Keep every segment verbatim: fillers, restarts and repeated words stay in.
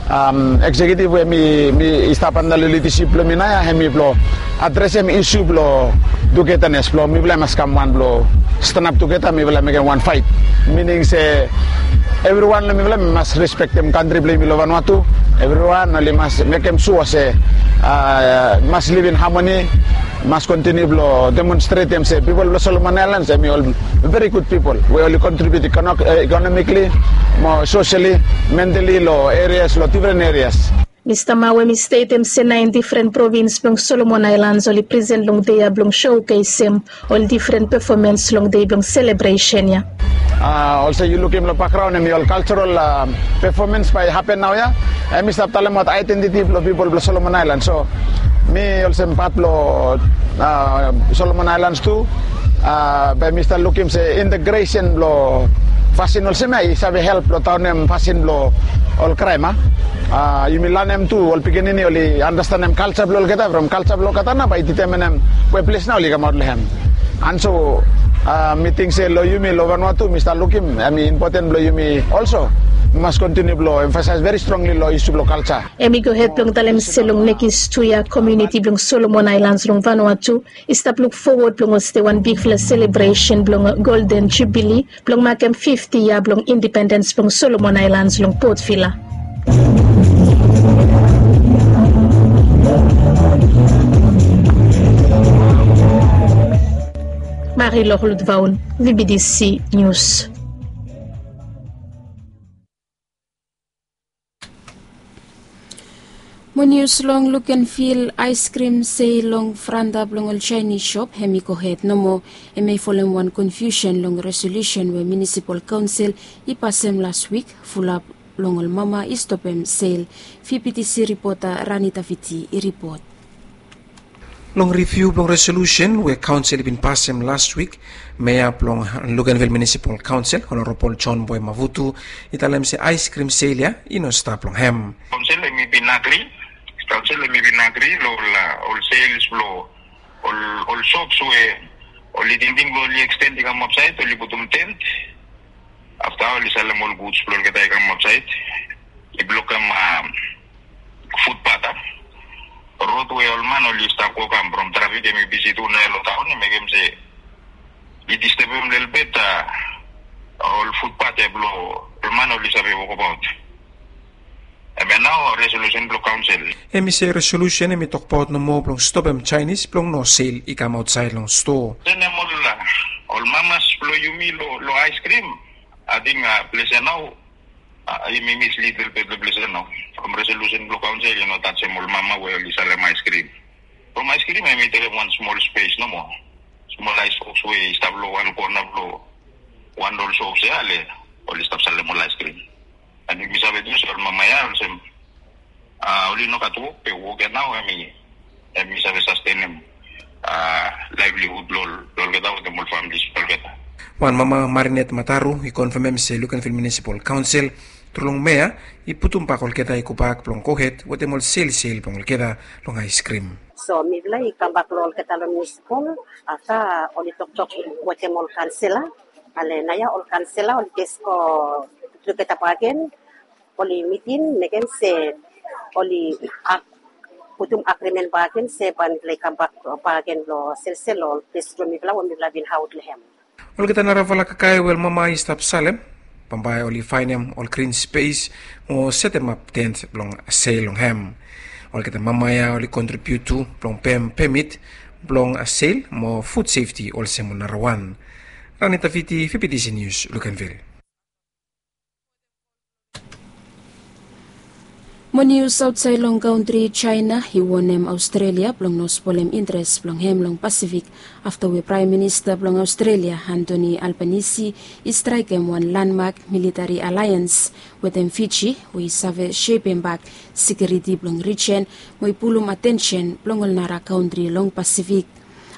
Eksekiutiv we mi mi i stap anda long lidasip blong mi naoia hem i blong adresem isu blong tugetanes blong mifala i mas kam wan blong stanap tugeta mifala mekem wan faet. Mining se evriwan long mifala mi mas respektem kantri blong yumi long vanua tu. Evriwan oli mas mekem sua se mas livim hamoni, mas kontiniu blong demonstretem se pipol blong Solomon Ailans hem i ol veri gud pipol we oli kontribiut ikonomikli mo soseli, mentali long erias long difren erias. Mista Mao hem i stetem se naen difren provins blong Solomon Ailans oli presen long dei ya blong sokesem ol difren pefomens long dei blong selebresen ya. Olsem yu lukim long bakgraon hem i ol kalserol pefomens bae i hapen naoia. Hem i stap talemaot aedentiti blong pipol blong Solomon Ailans. So mi olsem pat blong Solomon Ailans tu, bae mi stap lukim se integresen blong fasin olsem ya i save help blong daonem fasin blong ol kraem. Yumi lanem tu ol pikinini oli anastenem kalsa blong olgeta from kalsa blong olgeta nao bae i ditemanem we ples nao oli kamaot long hem. Anso mi ting se long yumi long Vanua tu mi stap lukim hem i impoten blong yumi olso mi mas kontiniu blong emfasaes veri strongli long isu blong kalsa. Hem i gohed blong talem se long nekis tu yia komuniti blong Solomon Ailans long Vanua tu i stap luk fowod blong hostem wan bigfala selebresen blong Golden Jubili blong makem fifti yia blong indipendens blong Solomon Ailans long Port Vila. Mari Loklut Vaun, VBDC Nius. Mo nius long lukenvil, aiskrim sel long franta blong ol Chinese shop hem i gohed nomo. Hem i folem wan konfiusen long resolusen we munisipal kaonsel i pasem las wik, fulap long ol mama i stopem sel. VBDC ripota Rani Taviti i ripot. Long riviu blong resolusen we kaonsel i bin pasem las wik, mea blong Luganville Munisipal Kaonsel, Honorabol John Boy Mavutu, i talem se aiskrim sel ya i no stap long hem. Kaonsel hem i bin agri, kaonsel hem i bin agri long ol sels blong ol sops we oli tingting blong oli eksten i kam aotsaed, oli putum tent. Afta oli salem ol guds blong olgeta i kam aotsaed, i blokem futpat a rod we ol man oli stap go kam from trafik hem i bisi tu naoia long taon, i mekem se i distebem lelebet ol futpat ya blong ol man oli save wokabaot. Hem ya nao resolusen blong kaonsel. Hem i se resolusen hem i tokbaot nomo blong stopem Chinese blong no sel i kam aotsaed long stoa. Senem ol mamas blong yumi long aiskrim. Ating ples ya nao hem i mislid lelebet long ples ya nao. From resolusen blong kaonsel i no tajem ol mama we oli salem aiskrim. From aiskrim hem i tekem wan smol spes nomo, smol aisboks we i stap long wan kona blong wan long ol sops ya, le oli stap salem ol aiskrim. An yumi save tu se ol mama ya olsem oli no gat wok, be wok ya nao hem i save sastenem laevlihud blong olgeta wetem ol famlis blong olgeta. Wan mama, Marinet Mataru, i konfamem se Luganville Munisipal Kaonsel tru long mea i putumbak olgeta i gobak blong gohed wetem ol selsel blong olgeta long aiskrim. So mifala i kambak long olgeta long munisipal afta oli toktok wetem ol kaonsela. Ale naoia ol kaonsela oli jes go tugeta bakegen, oli mitim mekem se oli putum agrimen bakegen se bae mifala i kambak bakegen long selsel long ol ples blong mifala we mifala bin aot long hem. Olgeta narafala kakae we ol mama i stap salem, bambae oli faenem ol grin spes mo setemap tent blong sel long hem. Olgeta mama ya oli kontribiut tu blong pem pemit blong sel mo fud sefti olsem ol narawan. Rani Taviti, VBDC Nius, Luganville. Mo nius aotsaed long kantri, Jaena i wonem Aostrelia blong no spolem intres blong hem long Pasifik afta we Praem Minista blong Aostrelia, Anthony Albanese, i straekem wan landmak militari alaeans wetem Fiji we i save sepembak sekiuriti blong rijen mo i pulum atensen blong ol nara kantri long Pasifik.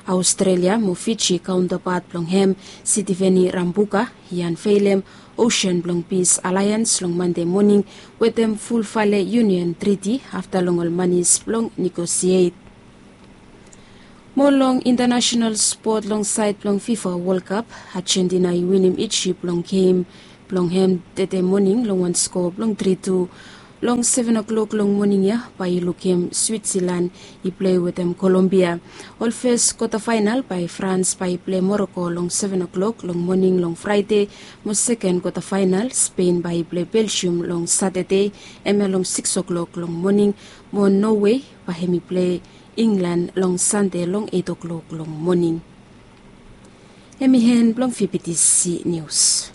Aostrelia mo Fiji kaontapat blong hem, Sitiveni Rabuka, i anveilem Osen blong Pis Alaeans long Mande moning wetem fulfale Yunion Triti afta long ol manis blong negosiet. Mo long intanasenal spot long saed blong FIFA Wol Kap, Ajentina i winim Ijip long gem blong hem tede moning long wan skoa blong tri tu. Long seven o'clock long moning ya bae yu lukim Switzerland i plei wetem Kolombia. Ol fes kwata faenal bae Frans bae i plei Moroko long seven o'clock long moning long Fraede, mo seken kwata faenal Spen bae i plei Belgium long Satade, hemia long six o'clock long moning, mo Nowe bae hem i plei Inglan long Sande long eight o'clock long moning. Hem i hen blong VBTC Nius.